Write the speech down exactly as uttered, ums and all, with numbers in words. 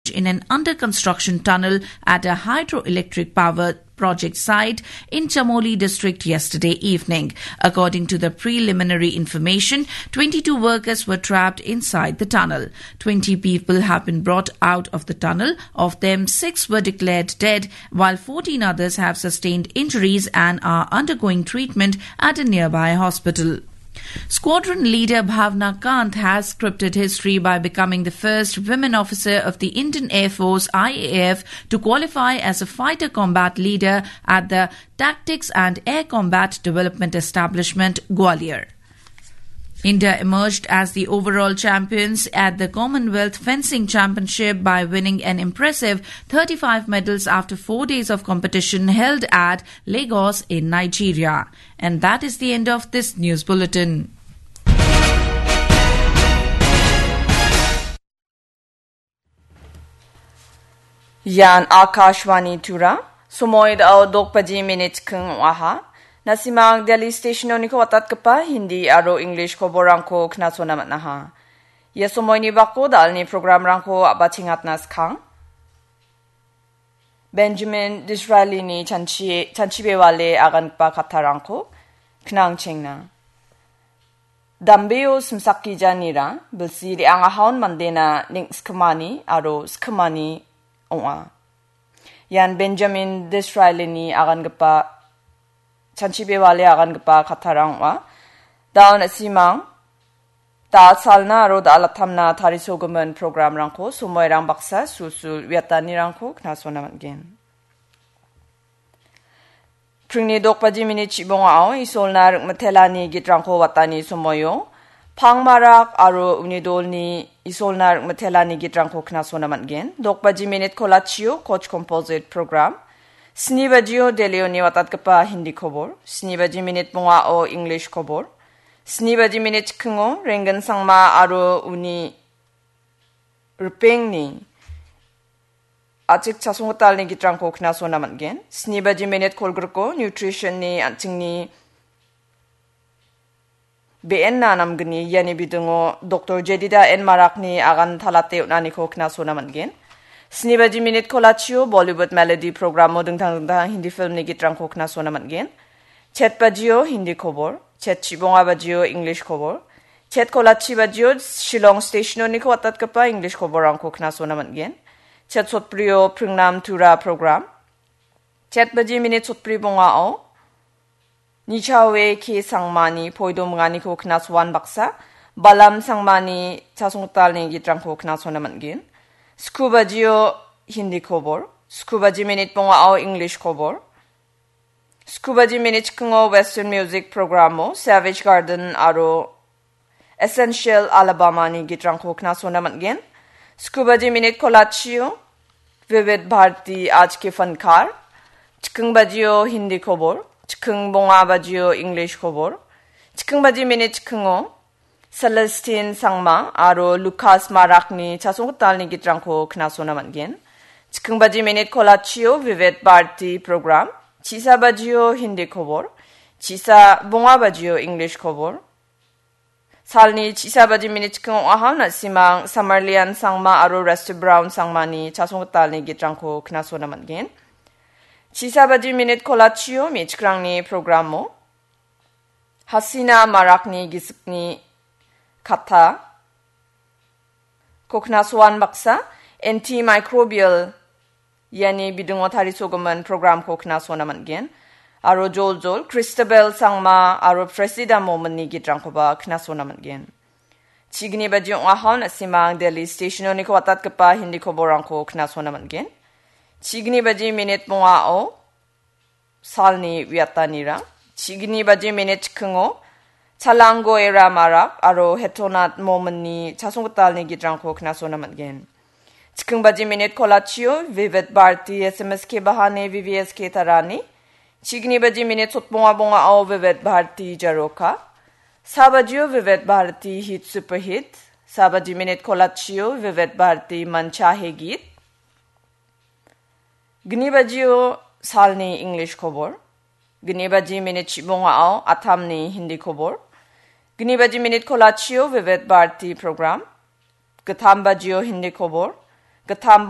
in an under-construction tunnel at a hydroelectric power project site in Chamoli district yesterday evening. According to the preliminary information, twenty-two workers were trapped inside the tunnel. Twenty people have been brought out of the tunnel. Of them, six were declared dead, while fourteen others have sustained injuries and are undergoing treatment at a nearby hospital. Squadron leader Bhavna Kant has scripted history by becoming the first women officer of the Indian Air Force, I A F, to qualify as a fighter combat leader at the Tactics and Air Combat Development Establishment, Gwalior. India emerged as the overall champions at the Commonwealth Fencing Championship by winning an impressive thirty-five medals after four days of competition held at Lagos in Nigeria. And that is the end of this news bulletin. Ian Akashvani Tura, somoi dao dok baji minit keng oaha. Nasimang Delhi Station-oniko watatgipa Hindi aro English koborangko knasona man·aha. Ia somoini bako dalni programrangko a·bachengatna skang. Benjamin Disraelini chanchi-, chanchibewale agangipa kattarangko knangchengna. Dambeo simsakgijanira bilsi re·angahaon mandena ning·skimani aro skimani ong·a. Ian Benjamin Disraelini agangipa, chanchibewale agangipa kattarang ong·a. Daon a·simang da·salna aro da·alatamna tarisogimin programrangko somoirang baksa sulsul uiatanirangko knasona man·gen. Pringni dok baji minit chibongao Isolna ring·mitelani gitrangko watani somoio, Pangmarak aro uni dolni Isolna ring·mitelani gitrangko knasona man·gen. Dok baji minit kolachio Koch Composite Program. Sni bajio Delhioni watatgipa Hindi kobor. Sni baji minit bongao English kobor. Sni baji minit chikingo Renggen Sangma aro uni ripengni a·chik chasonggitalni gitrangko knasona man·gen. Sni baji minit kolgriko nutrition-ni an·chingni be·enna namgni iani bidingo Doktor Jedida N Marakni agan talate on·aniko knasona man·gen. Sni baji minit kolachio Bollywood Melody programo dingtang dingtang Hindi filmni gitrangko knasona man·gen. Chet bajio Hindi kobor, chet chibonga bajio English kobor, chet kolachi bajio Shillong Station-oniko watatgipa English koborrangko knasona man·gen. Chet sotbrio Pringnam Tura program. Chet baji minit sotbri bongao Nichawe K Sangmani poido minganiko knasoan baksa, Balam Sangmani chasonggitalni gitrangko knasona man·gen. Sku bajio Hindi kobor, sku baji minit bongao English kobor. Sku baji minit chikingo Western Music programo Savage Garden aro Essential Alabama-ni gitrangko knasona man·gen. Sku baji minit kolachio Vivid Bharati Aaj Ke Fankar. Chiking bajio Hindi kobor. Chiking bonga bajio English kobor. Chiking baji minit chikingo Celestine Sangma aro Lucas Marakni chasonggitalni gitrangko knasona man·gen. Chiking baji minit kolachio Vivid Bharati program. Chisa bajio Hindi kobor. Chisa bonga bajio English kobor. Salni chisa baji minit chikingo ong·aha, na·simang Samarlian Sangma aro Rusty Brown Sangmani chasonggitalni gitrangko knasona man·gen. Chisa baji minit kolachio me·chikrangni programo Hasina Marakni gisikni katta ko knasoan baksa antimicrobial iani bidingo tarisogimin programko knasona man·gen. Aro joljol Christabel Sangma aro Presida Mominni gitrangkoba knasona man·gen. Chigni baji ong·aha, na·simang Delhi Station-oniko watatgipa Hindi koborrangko knasona man·gen. Chigni baji minit bongao salni uiatanirang. Chigni baji minit chikingo Chalango Era Marak aro Hetonat Mominni chasonggitalni gitrangko knasona man·gen. Chiking baji minit kolachio Vivid Bharati S M S K Bahani V V S K Tarani. Chigni baji minit sotbonga bongao Vivid Bharati Jaroka. Sa bajio Vivid Bharati Hit Super Hit. Sa baji minit kolachio Vivid Bharati Mancha He Geet. Gni bajio salni English kobor. Gni baji minit chibongao Atamni Hindi kobor. Gni baji minit kolachio Vivid Bharati program. Gittam bajio Hindi kobor. Gittam